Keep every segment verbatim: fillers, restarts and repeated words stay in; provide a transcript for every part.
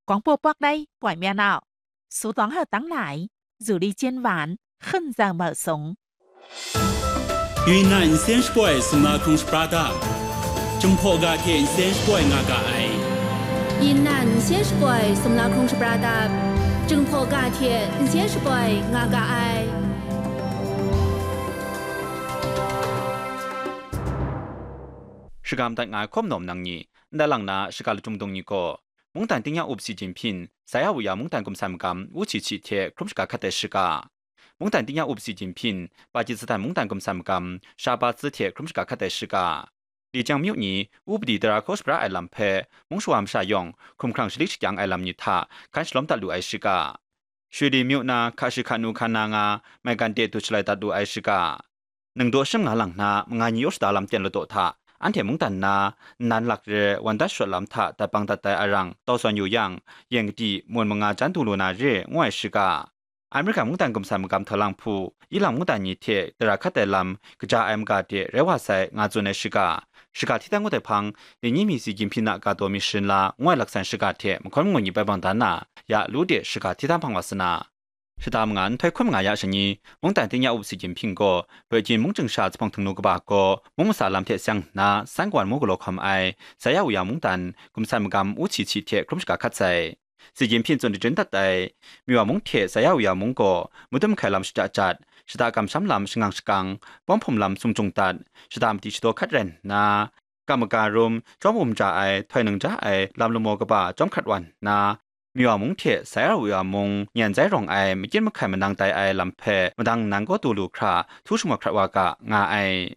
广播 bak dai poi mya nau, su tawng hau tang lai, zu li jen wan, hkun zau mau sung. Yunnan nsen shapoi sumla hkrung shapra dap, Jinghpaw ga hte nsen shapoi nga ga ai. Yunnan nsen shapoi sumla hkrung shapra dap, Jinghpaw ga hte nsen shapoi nga ga ai. Shagam dat nga ai hkawm nawm nang ni, ndai lang na shaga lachyung dung ni gaw, mungdan tingnya up Xi Jinping, Saiya Wuya mungdan gumsan magam Wu Qiqi hte hkrum shaga hkat ai shaga. Mungdan tingnya up Xi Jinping, Pakistan mungdan gumsan magam Shahbaz hte hkrum shaga hkat ai shaga. Lijiang myu ni, upadi tara hkaw shapra ai lam hpe, mung shawa masha yawng, hkumhkrang shalik shakyang ai lam ni hta, hkan shalawm dat lu ai shaga. Shuli myu na, hka shi hka nu hkan na nga, maigan de du shalai dat lu ai shaga. Ningdaw shim nga lang na, manga ni yaw shada lam ten ladaw hta, anhte mungdan na, nnan lak re, wan dat shawt lam hta, dat bang dat ai arang, tau sawn yu yang, yeng kadi, mun manga jan du lu na re, ngu ai shaga. Amerika mungdan gumsan magam hta lang hpu, ilang mungdan ni hte tara hkat ai lam, kaja ai maga de rai wa sai, nga tsun ai shaga. Shaga hti dan ngut ai hpang, Lenyi mi Xi Jinping na ga taw mi sharin la, ngu ai laksan shaga hte mahkawn mangun ni bai bang dan na, ya lu de shaga hti dan hpang wa sa na. Shata manga nhtoi hkun manga ya shani, mungdan tingnya up Xi Jinping gaw, Beijing mungchying sha zuphpawng htingnu kaba gaw, mung masa lam hte seng nna, san kawan mu galaw hkawm ai, Saiya Wuya mungdan, gumsan magam Wu Qiqi hte hkrum shaga hkat sai. Xi Jinping tsun dachyun dat ai, Miwa mung hte Saiya Wuya mung gaw, madum hkai lam shada jat, shada kamsham lam shangang shakang, pawng hpum lam sumjung dat, shada madi shadaw hkat rai nna, kam maga rum, chyawm um ja ai, htoi nang ja ai, lam lamaw kaba chyawm hkrat wa nna, Miwa mung hte Saiya Wuya mung nyan zai rawng ai, makyit mahkai manang tai ai lam hpe, madang nang kaw du lu hkra, htu shamawt hkrat wa ga, nga ai.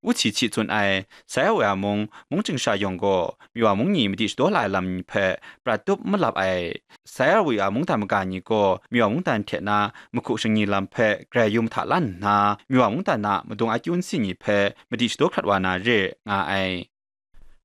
Wu Qiqi tsun ai, Saiya Wuya mung, mungchying sha yawng gaw, Miwa mung ni madi shadaw la ai lam ni hpe, prat tup malap ai. Saiya Wuya mungdan maga ni gaw, Miwa mungdan hte na, mahku shingni lam hpe, grai yu mahta lan nna, Miwa mungdan a madung akyu nsi ni hpe, madi shadaw hkrat wa na re, nga ai.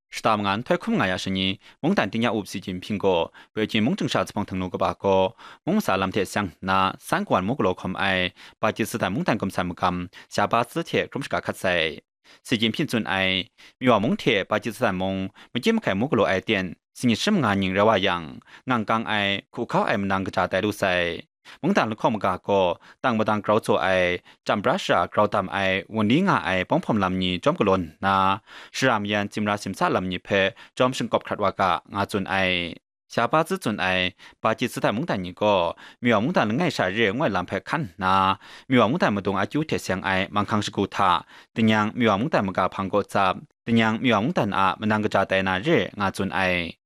Shata manga nhtoi hkun manga ya shani, mungdan tingnya up Xi Jinping gaw, Beijing mungchying sha zuphpawng htingnu kaba gaw, mung masa lam hte seng nna, san kawan mu galaw hkawm ai, Pakistan mungdan gumsan magam, Shahbaz hte hkrum shaga hkat sai. Xi Jinping tsun ai, Miwa mung hte Pakistan mung, makyit mahkai mu galaw ai ten, singnyit shim nga ning rai wa yang, ngang kang ai, hku hkau ai manang kaja tai lu sai. Mungdan lahkawng maga gaw, tang madang grau tsaw ai, chyam bra shara grau dam ai, wun ni nga ai pawng hpawm lam ni chyawm galaw nna, shara mayan tsimra simsa lam ni hpe chyawm shingkawp hkrat wa ga, nga tsun ai. Shahbaz tsun ai, Pakistan mungdan ni gaw, Miwa mungdan langai sha re ngu ai lam hpe hkan nna, Miwa mungdan madung akyu hte seng ai manghkang shagu hta, dingnyang Miwa mungdan maga hpang gaw tsap, dingnyang Miwa mungdan a manang kaja tai na re, nga tsun ai.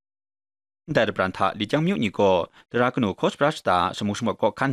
Ndai dabran hta Lijiang myu ni gaw, tara kanu hkaw shapra shata shamu shamawt kaw hkan